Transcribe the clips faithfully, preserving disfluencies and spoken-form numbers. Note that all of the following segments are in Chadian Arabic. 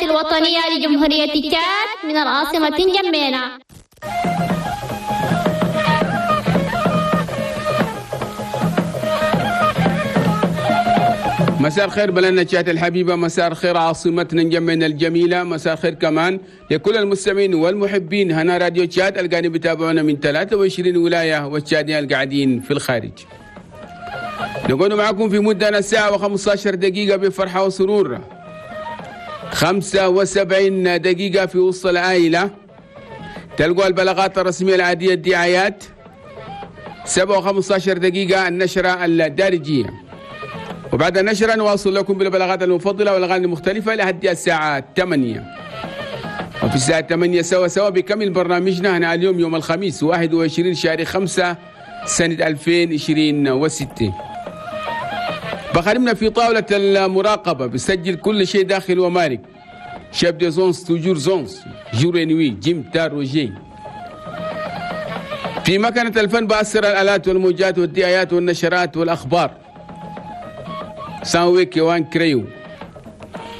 الوطنية لجمهورية تشاد من العاصمة نجمينا. مساء الخير بلدنا تشاد الحبيبة، مساء الخير عاصمتنا نجمينا الجميلة، مساء الخير كمان لكل المستمعين والمحبين هنا راديو تشاد القاعدين بيتابعونا من ثلاثة وعشرين ولاية والتشاديين القاعدين في الخارج. نكون معكم في مدة ساعة وخمسة عشر دقيقة بفرحة وسرور، خمسة وسبعين دقيقة في وسط العائلة تلقوا البلاغات الرسمية العادية الدعايات، سبعة وخمسة عشر دقيقة النشرة الدارجية، وبعد النشرة نواصل لكم بالبلاغات المفضلة والأغاني المختلفة لحد الساعة ثمانية. وفي الساعة ثمانية سوا سوا بكمل برنامجنا هنا اليوم يوم الخميس واحد وعشرين شهر خمسة سنة ألفين وعشرين وستة. بخدمنا في طاولة المراقبة بسجل كل شيء داخل ومارك، chef de zone toujours zone jour et nuit جيم تاروجي. في مكنة الفن بأسر الآلات والموجات والدعايات والنشرات والأخبار ساوي كيوان كريو.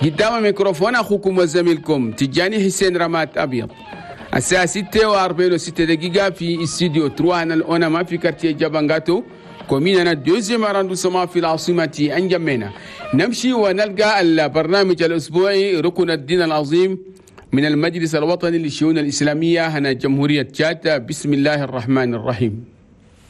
قدام ميكروفون أخوكم وزميلكم تجاني حسين رمات أبيض. الساعة ستة وأربعين وستة دقيقة في استوديو trois الأونما في quartier جابانغاتو commune deuxième arrondissement في العاصمة أنجمينا. نمشي ونلقى البرنامج الأسبوعي ركن الدين العظيم من المجلس الوطني للشؤون الإسلامية هنا جمهورية تشاد. بسم الله الرحمن الرحيم.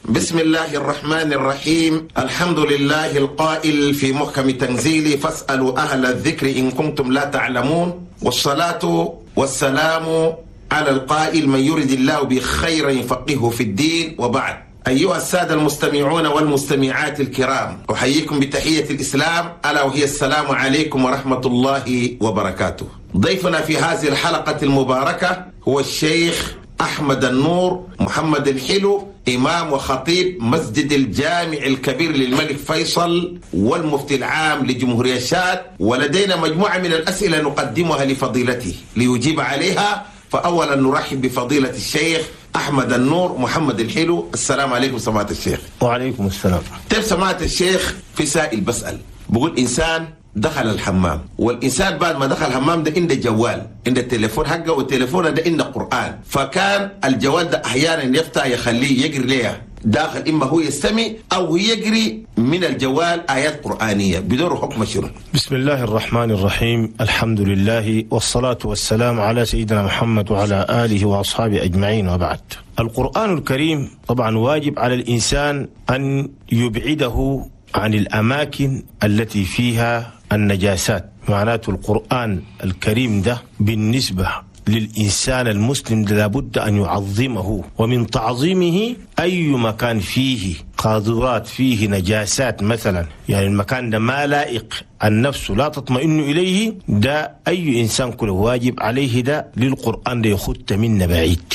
بسم الله الرحمن الرحيم. الحمد لله القائل في محكم تنزيله فاسألوا أهل الذكر إن كنتم لا تعلمون، والصلاة والسلام على القائل من يرد الله بخير يفقهه في الدين. وبعد، أيها السادة المستمعون والمستمعات الكرام، أحييكم بتحية الإسلام، ألا وهي السلام عليكم ورحمة الله وبركاته. ضيفنا في هذه الحلقة المباركة هو الشيخ أحمد النور محمد الحلو، إمام وخطيب مسجد الجامع الكبير للملك فيصل والمفتي العام لجمهورية تشاد، ولدينا مجموعة من الأسئلة نقدمها لفضيلته ليجيب عليها. فأولا نرحب بفضيلة الشيخ أحمد النور محمد الحلو. السلام عليكم سماحة الشيخ. وعليكم السلام. طيب سماحة الشيخ، في سائل بسأل بقول إنسان دخل الحمام، والإنسان بعد ما دخل الحمام ده عنده جوال، عنده التليفون حقه، والتليفون ده عنده قرآن، فكان الجوال ده أحيانا يفتح يخليه يقري ليه داخل، إما هو يستمع أو يقري من الجوال آيات قرآنية، بدور حكم شنو؟ بسم الله الرحمن الرحيم، الحمد لله والصلاة والسلام على سيدنا محمد وعلى آله وأصحابه أجمعين، وبعد. القرآن الكريم طبعا واجب على الإنسان أن يبعده عن الأماكن التي فيها النجاسات. معناته القرآن الكريم ده بالنسبة للإنسان المسلم لابد أن يعظمه، ومن تعظيمه أي مكان فيه قاذورات، فيه نجاسات مثلا، يعني المكان ده ما لائق، النفس لا تطمئن إليه، ده أي إنسان كله واجب عليه ده للقرآن ده يخط منا بعيد،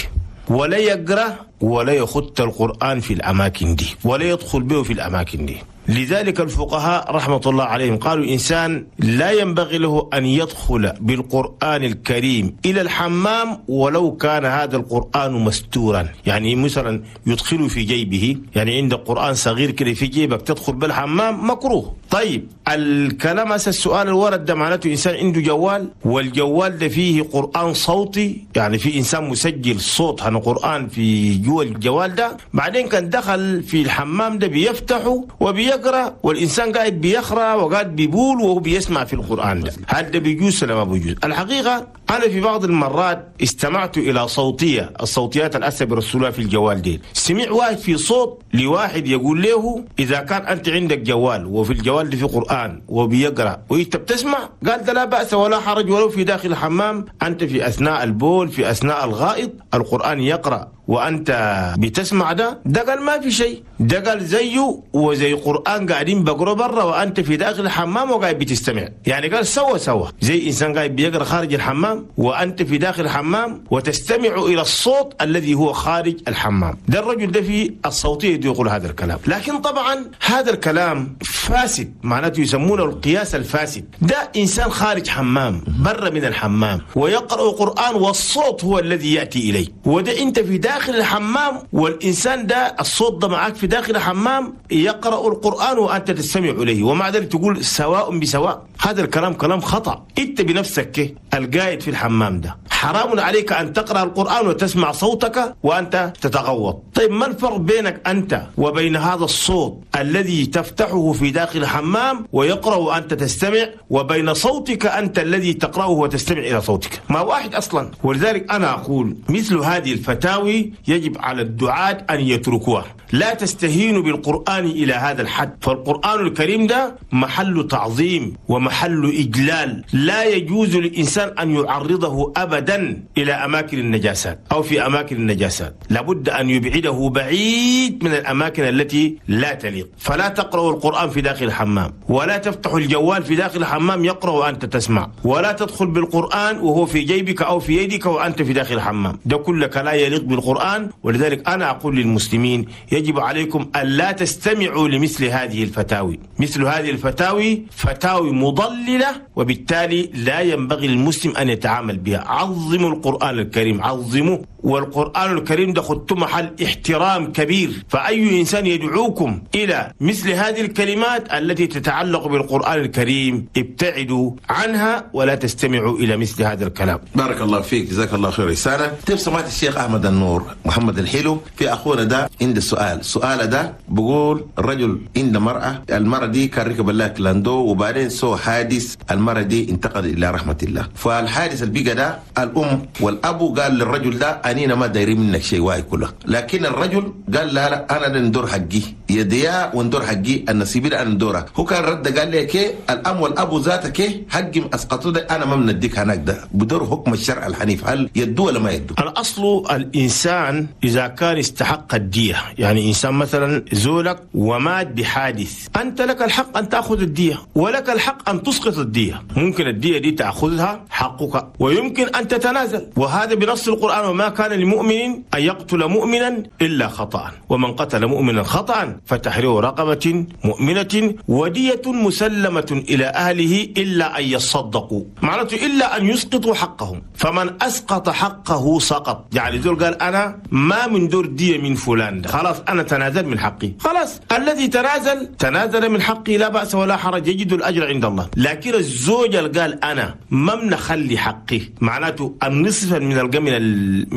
ولا يقرأ ولا يخط القرآن في الأماكن دي، ولا يدخل به في الأماكن دي. لذلك الفقهاء رحمة الله عليهم قالوا إنسان لا ينبغي له أن يدخل بالقرآن الكريم إلى الحمام ولو كان هذا القرآن مستورا، يعني مثلا يدخله في جيبه، يعني عند قرآن صغير كده في جيبك تدخل بالحمام مكروه. طيب الكلام هسه السؤال الورد ده معناته إنسان عنده جوال، والجوال ده فيه قرآن صوتي، يعني في إنسان مسجل صوت عن قرآن في جوا الجوال ده، بعدين كان دخل في الحمام ده بيفتحه وبيقرأ، والإنسان قاعد بيقرأ وقاعد بيبول وهو بيسمع في القرآن ده، هل ده بيجوز ولا ما بيجوز؟ الحقيقة أنا في بعض المرات استمعت إلى صوتية، الصوتيات الأسى برسولها في الجوال دي، سمع واحد في صوت لواحد يقول له إذا كان أنت عندك جوال وفي الجوال ده في قرآن وبيقرأ وأنت بتسمع، قال ده لا بأس ولا حرج ولو في داخل الحمام، أنت في أثناء البول في أثناء الغائط القرآن يقرأ وأنت بتسمع، ده ده قال ما في شيء، ده قال زيه وزي قرآن قاعدين بقرأ برا وأنت في داخل الحمام وقاعد بتستمع، يعني قال سوا سوا زي إنسان قاعد بيقرأ خارج الحمام وأنت في داخل الحمام وتستمع إلى الصوت الذي هو خارج الحمام. ده الرجل ده في الصوتية يقول هذا الكلام، لكن طبعا هذا الكلام فاسد، معناته يسمونه القياس الفاسد. ده إنسان خارج حمام برا من الحمام ويقرأ قرآن والصوت هو الذي يأتي إليه، وده أنت في داخل داخل الحمام، والإنسان ده الصوت ده معك في داخل الحمام يقرأ القرآن وأنت تستمع إليه، ومع ذلك تقول سواء بسواء. هذا الكلام كلام خطأ. أنت بنفسك القاعد في الحمام ده حرام عليك أن تقرأ القرآن وتسمع صوتك وأنت تتغوط. طيب ما الفرق بينك أنت وبين هذا الصوت الذي تفتحه في داخل الحمام ويقرأ وأنت تستمع، وبين صوتك أنت الذي تقرأه وتستمع إلى صوتك؟ ما واحد أصلا. ولذلك أنا أقول مثل هذه الفتاوي يجب على الدعاة أن يتركوها. لا تستهينوا بالقرآن إلى هذا الحد، فالقرآن الكريم ده محل تعظيم ومحل إجلال، لا يجوز للإنسان أن يعرضه أبدا إلى أماكن النجاسات أو في أماكن النجاسات، لابد أن يبعده بعيد من الأماكن التي لا تليق. فلا تقرأوا القرآن في داخل الحمام، ولا تفتحوا الجوال في داخل الحمام يقرأ وأنت تسمع، ولا تدخل بالقرآن وهو في جيبك أو في يدك وأنت في داخل الحمام، ده كلك لا يليق بالقرآن. ولذلك أنا أقول للمسلمين يجب عليكم ألا تستمعوا لمثل هذه الفتاوي. مثل هذه الفتاوي فتاوي مضللة، وبالتالي لا ينبغي للمسلم أن يتعامل بها. عظموا القرآن الكريم، عظموه، والقرآن الكريم ده خدتم محل احترام كبير، فأي إنسان يدعوكم إلى مثل هذه الكلمات التي تتعلق بالقرآن الكريم ابتعدوا عنها ولا تستمعوا إلى مثل هذا الكلام. بارك الله فيك، جزاك الله خير رسالة. طيب سمعت الشيخ أحمد النور محمد الحلو، في أخونا ده عند السؤال، السؤال ده بقول الرجل عند مرأة، المرأة دي كان ركب الله كلاندو وبعدين سو حادث، المرأة دي انتقل إلى رحمة الله. فالحادث البيقى ده الأم والأبو قال للرجل ده أنينا ما دايرين منك شيء واي كله، لكن الرجل قال لا لا أنا ندور حقي يديا وندور حقي النصيب ده أنا ندوره. هو كان رد قال لي كي الأم والأبو ذاتك حقي أسقطوا ده أنا ما بنديك هناك، ده بدور حكم الشرع الحنيف، هل يدو ولا ما يدو؟ الأصل الإنسان إذا كان استحق الدية، يعني إنسان مثلا زولك ومات بحادث، أنت لك الحق أن تأخذ الدية ولك الحق أن تسقط الدية. ممكن الدية دي تأخذها حقك ويمكن أن تتنازل، وهذا بنص القرآن: وما كان لمؤمن أن يقتل مؤمنا إلا خطأ، ومن قتل مؤمنا خطأ فتحرير رقبة مؤمنة ودية مسلمة إلى أهله إلا أن يصدقوا، معناته إلا أن يسقطوا حقهم، فمن أسقط حقه سقط. يعني زول قال أنا ما من دور دية من فلان ده، خلاص أنا تنازل من حقي، خلاص الذي تنازل تنازل من حقي لا بأس ولا حرج، يجد الأجر عند الله. لكن الزوج اللي قال أنا ما منخلي حقي، معناته النصف من القمن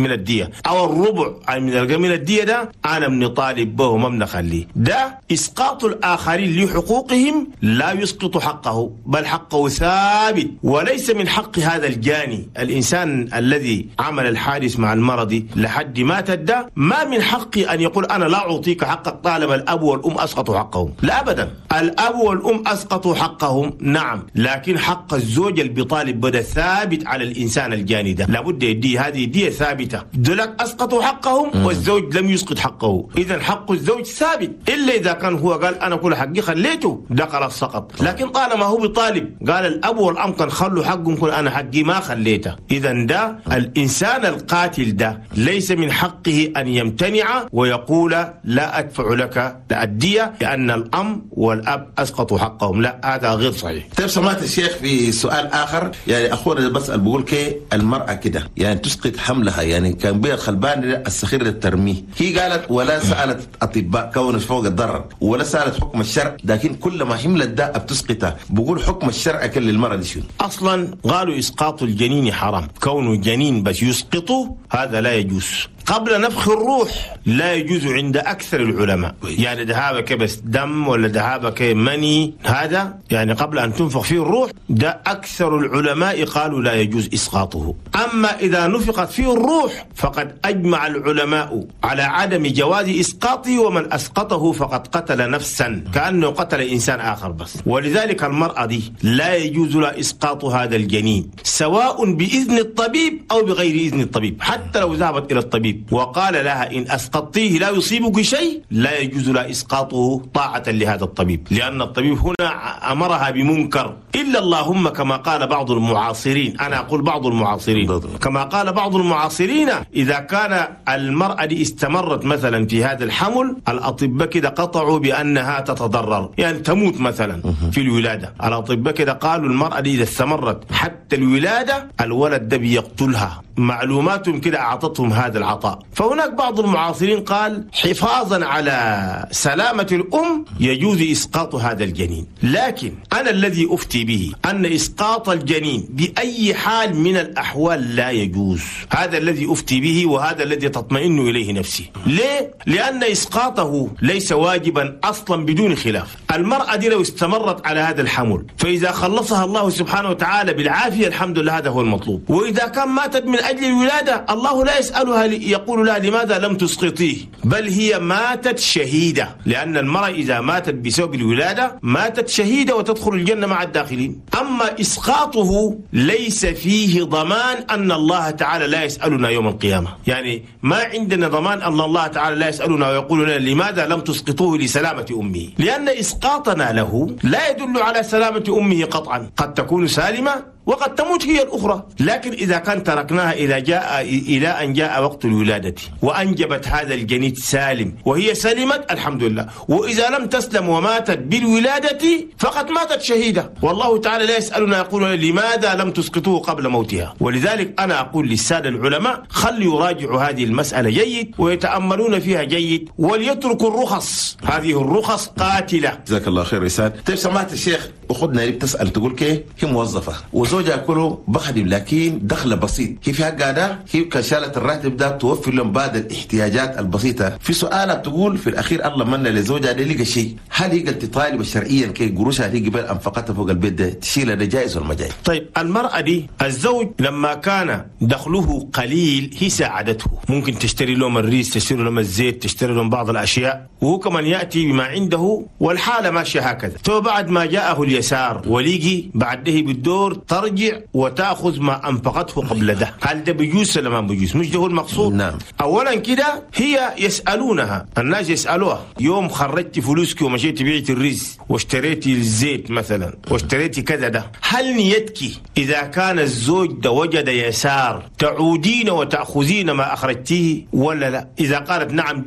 من الدية أو الربع من القمن الدية ده أنا من طالب به وما منخليه، ده إسقاط الآخرين لحقوقهم لا يسقط حقه، بل حقه ثابت، وليس من حق هذا الجاني الإنسان الذي عمل الحادث مع المرض لحد ما تدى، ما من حقي أن يقول أنا لا أعطيك حقك طالما الأب والأم أسقطوا حقهم، لا أبدا. الأب والأم أسقطوا حقهم نعم، لكن حق الزوج اللي بيطالب بدا ثابت على الإنسان الجاني ده، لابد يدي هذه دية ثابتة. دولك أسقطوا حقهم والزوج لم يسقط حقه، إذا حق الزوج ثابت، إلا إذا كان هو قال أنا كل حقي خليته ده خلاص سقط. لكن طالما هو بيطالب قال الأب والأم كان خلوا حقهم، كل أنا حقي ما خليته، إذا ده الإنسان القاتل ده ليس من حقه أن يمتنع ويقول لا أدفع لك الدية لأن الأم والأب أسقطوا حقهم، لا هذا غير صحيح. طيب سمعت الشيخ في سؤال آخر، يعني أخونا بسأل بقول كي المرأة كده يعني تسقط حملها، يعني كان بيها خلبان السخير للترميه، هي قالت ولا سألت أطباء كون فوق الضرر ولا سألت حكم الشرع، لكن كل ما حملت ده بتسقطها، بقول حكم الشرع كل للمرأة دي شنو؟ أصلا قالوا إسقاط الجنين حرام، كونه جنين بس يسقطه هذا لا يجوز. قبل نفخ الروح لا يجوز عند أكثر العلماء، يعني ذهابك بس دم ولا ذهابك مني، هذا يعني قبل أن تنفخ فيه الروح ده أكثر العلماء قالوا لا يجوز إسقاطه. أما إذا نفخت فيه الروح فقد أجمع العلماء على عدم جواز إسقاطه، ومن أسقطه فقد قتل نفسا كأنه قتل إنسان آخر بس. ولذلك المرأة دي لا يجوز لها إسقاط هذا الجنين سواء بإذن الطبيب أو بغير إذن الطبيب، حتى لو ذهبت إلى الطبيب وقال لها إن أسقطتيه لا يصيبك شيء لا يجوز لها إسقاطه طاعة لهذا الطبيب، لأن الطبيب هنا أمرها بمنكر. إلا اللهم كما قال بعض المعاصرين، أنا أقول بعض المعاصرين، كما قال بعض المعاصرين إذا كان المرأة دي استمرت مثلا في هذا الحمل الأطباء كده قطعوا بأنها تتضرر، يعني تموت مثلا في الولادة. الأطباء كده قالوا المرأة دي إذا استمرت حتى الولادة الولد ده بيقتلها، معلوماتهم كده أعطتهم هذا العطاء. فهناك بعض المعاصرين قال حفاظا على سلامة الأم يجوز إسقاط هذا الجنين، لكن أنا الذي أفتي به أن إسقاط الجنين بأي حال من الأحوال لا يجوز. هذا الذي أفتي به وهذا الذي تطمئن إليه نفسي. ليه؟ لأن إسقاطه ليس واجبا أصلا بدون خلاف. المرأة دي لو استمرت على هذا الحمل فإذا خلصها الله سبحانه وتعالى بالعافية الحمد لله، هذا هو المطلوب. وإذا كان ماتت من أجل الولادة الله لا يسألها يقول لها لماذا لم تسقطيه، بل هي ماتت شهيدة، لأن المرأة إذا ماتت بسبب الولادة ماتت شهيدة وتدخل الجنة مع الداخلين. أما إسقاطه ليس فيه ضمان أن الله تعالى لا يسألنا يوم القيامة، يعني ما عندنا ضمان أن الله تعالى لا يسألنا ويقول لنا لماذا لم تسقطوه لسلامة أمه، لأن إسقاطنا له لا يدل على سلامة أمه قطعا، قد تكون سالمة وقد تموت هي الأخرى. لكن إذا كان تركناها إلى جاء إلى أن جاء وقت الولادة وأنجبت هذا الجنين سالم وهي سلمت الحمد لله، وإذا لم تسلم وماتت بالولادة فقد ماتت شهيدة، والله تعالى لا يسألنا يقول لماذا لم تسقطوه قبل موتها. ولذلك أنا أقول للسادة العلماء خلوا يراجعوا هذه المسألة جيد ويتأملون فيها جيد وليتركوا الرخص، هذه الرخص قاتلة. جزاك الله خير رسال. طيب سمعت الشيخ أخذنا اللي بتسأل تقول كي هي موظفة وزوجها كله بخدم لكن دخله بسيط، هي في حقها ده هي كشالة الراتب ده توفر لهم بعض الاحتياجات البسيطة. في سؤالها بتقول في الأخير الله من لزوجها ده لقى شيء، هل هي تطالب شرعيا كي قروشها دي قبل أنفقتها فوق البيت ده تشيلها ده جائز ولا ما جائز؟ طيب المرأة دي الزوج لما كان دخله قليل هي ساعدته، ممكن تشتري لهم الريس، تشتري لهم الزيت، تشتري لهم بعض الأشياء، وهو كمان يأتي بما عنده والحالة ماشية هكذا. ثم بعد ما جاءه اليسار وليجي بعده بالدور ترجع وتأخذ ما أنفقته قبل ده، هل ده بيجوز ولا ما بيجوز؟ مش ده هو المقصود. نعم. أولا كده هي يسألونها، الناس يسألوها يوم خرجت فلوسك ومشيت بعت الرز واشتريتي الزيت مثلا واشتريتي كذا ده، هل نيتك إذا كان الزوج ده وجد يسار تعودين وتأخذين ما أخرجتيه ولا لا؟ إذا قالت نعم